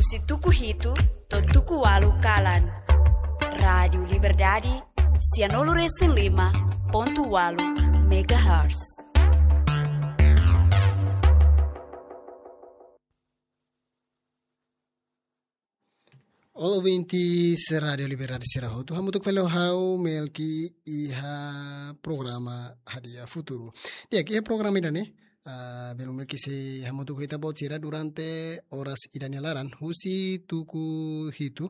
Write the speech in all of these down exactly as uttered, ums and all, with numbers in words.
Husi tuku hitu to'o tuku ualu kalan. Rádiu Liberdade, sianulu resin lima pontu ualu megahertz. Olá, ouvintes Rádiu Liberdade sira hotu. Hamutuk fali ho ha'u Melki iha programa Hadi'a Futuru. Di'ak, iha programa ida-ne'e, ah, belun Melki sei hamutuk ho ita-boot sira durante oras ida nia laran, husi tuku hitu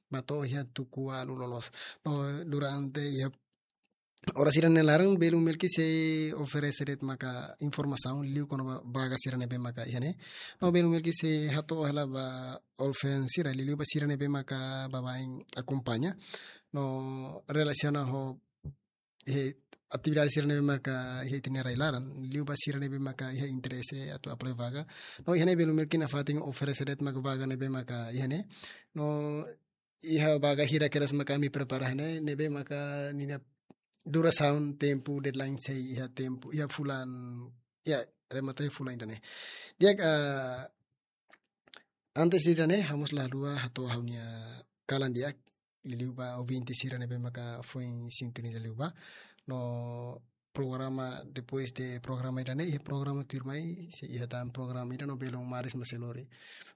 ba to'o iha tuku ualu loloos. No, durante iha oras ida nia laran, belun Melki sei oferese de'it maka informasaun liu kona-ba vaga sira ne'ebé maka iha ne'e. No, belun Melki sei hato'o hela ba olfeen sira, liuliu ba sira ne'ebé maka baibain akompaña. No, relasiona ho, eh, atividade sira ne'ebé maka iha ita-nia rai-laran, liu ba sira ne'ebé maka iha interese atu apply vaga. No, iha ne'e belun Melki nafatin oferese de'it maka vaga ne'ebé maka iha ne'e. No, iha vaga hirak kedas maka ami prepara iha ne'e, ne'ebé maka ninia durasaun, tempu, deadline sei iha tempu, iha fulan, ya, remata iha fulan ida-ne'e. Di'ak, ah, antes ida-ne'e, ha'u mós la haluha hato'o ha'u-nia kalan di'ak, liuliu ba ouvinte sira ne'ebé maka foin sintoniza liubá. No, programa, depois de programa ida-ne'e, iha programa tuirmai, sei iha tan programa ida no belun Maris Maselori.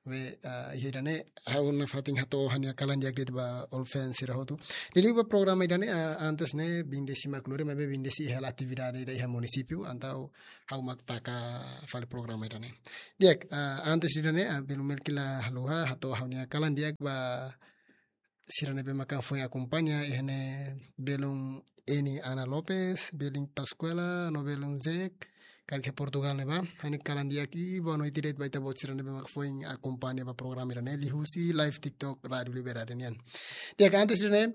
Be, ah, iha ida-ne'e, ha'u nafatin hato'o ha'u-nia kalan di'ak de'it ba olfeen sira hotu. Liuliu ba programa ida-ne'e, ah, antes ne'e, Bindesi mak lori, maibé Bindesi iha hela atividade ida iha munisípiu, entaun ha'u mak taka fali programa ida-ne'e. Di'ak, ah, antes ida-ne'e, ah, belun Melki la haluha hato'o ha'u-nia kalan di'ak ba sira ne'ebé maka foin akompaña, iha ne'e belun Eni Ana Lopes, belun Pascuala, no belun Zek, karik iha Portugal ne'ebá. Ha'u-nia kalan di'ak i boa noite de'it ba ita-boot sira ne'ebé maka foin akompaña ba programa ida-ne'e liuhusi live TikTok Rádiu Liberdade nian. Di'ak, antes ida-ne'e,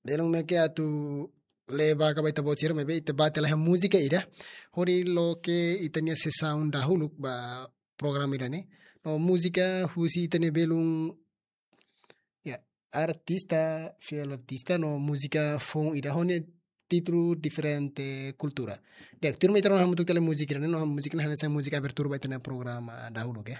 belun Melki atu lee vaga ba ita-boot sira, maibé ita bá tiha lai iha múzika ida hodi loke ita-nia sesaun dahuluk ba programa ida-ne'e. No, múzika husi ita-nia belun, ya, artista, Fiel Baptista, no múzika foun ida ho nia títulu Diferente Kultura. Di'ak, tuirmai ita rona hamutuk tiha lai múzika ida-ne'e, no múzika ne'e hanesan múzika abertura ba ita-nia programa dahuluk, oke?